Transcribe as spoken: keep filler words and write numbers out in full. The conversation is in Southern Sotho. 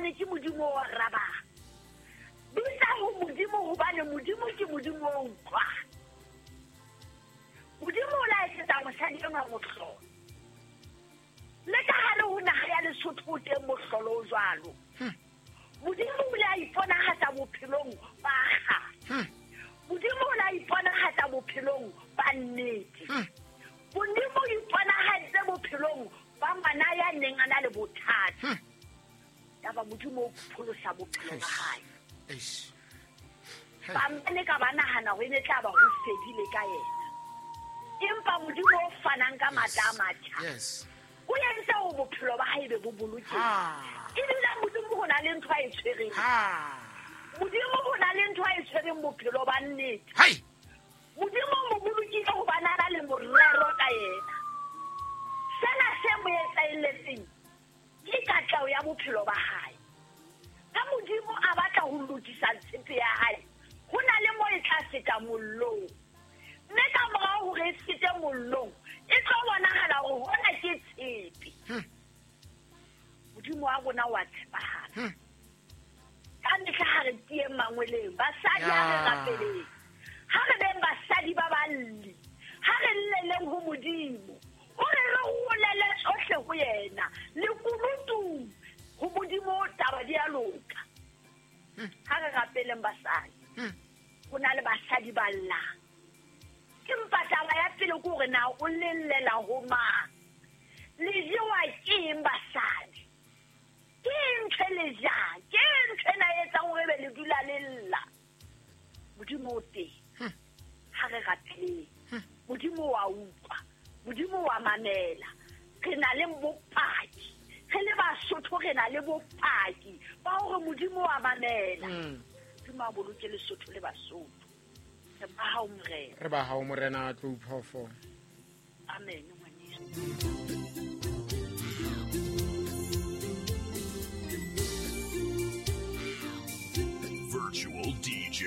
hobane ke Modimo o arabang. Bitsa ho Modimo hobane Modimo ke Modimo o utlwang. Modimo o la etsetsa mosadi enwa mohlolo. Le ka hare ho naha ya Lesotho o teng mohlolo o jwalo. Modimo o ile a iponahatsa bophelong ba kgale. Modimo o ile a iponahatsa bophelong ba nnete. Modimo o iponahaditse bophelong ba ngwana ya neng a na le bothata. Yaba Modimo o pholosa bophelo ba hae. Ba ne ka ba nahana hore e ne tla ba ho fedile ka yena. Empa Modimo o fanang ka matla a matjha. Yes. O entse hore bophelo ba hae be bo bolokehe. Ebile Modimo ho na le ntho a e tshwereng. Modimo ho na le ntho a e tshwereng bophelo ba nnete. Hai. Modimo o mo bolokile hobane a na le morero ka yena. Sena se mo etsahelletseng ke katleho ya bophelo ba hae. Ka Modimo a batla ho lokisa tshepe ya hae, ho na le mo e tla feta mollong. Mme ka morao hore e fete mollong, e tlo bonahala hore hona ke tshepe. Modimo wa rona wa tshepahala. Ka mehla ha re tieng mangweleng, basadi ha re rapeleng. Ha re beng basadi ba balli, ha re lleleng ho Modimo. Hore re rolele tsohle ho yena, lekunutung ho Modimo taba di a loka. Ha re rapeleng basadi. Ho na le basadi ba llang. Empa taba ya pele ke hore na o lellela ho mang? Le jewa ke eng basadi? Ke eng ntho e le jang? Ke eng ntho ena e etsang hore ebe le dula le lla? Modimo o teng. Ha re rapeleng. Modimo wa utlwa. Modimo wa mamela. Re na le bopaki. Re le Basotho re na le bopaki ba hore Modimo wa mamela. Modimo a boloke Lesotho le Basotho. Re ba hao Morena. Re ba hao Morena Tlou Phoofo. Amen ngwaneso.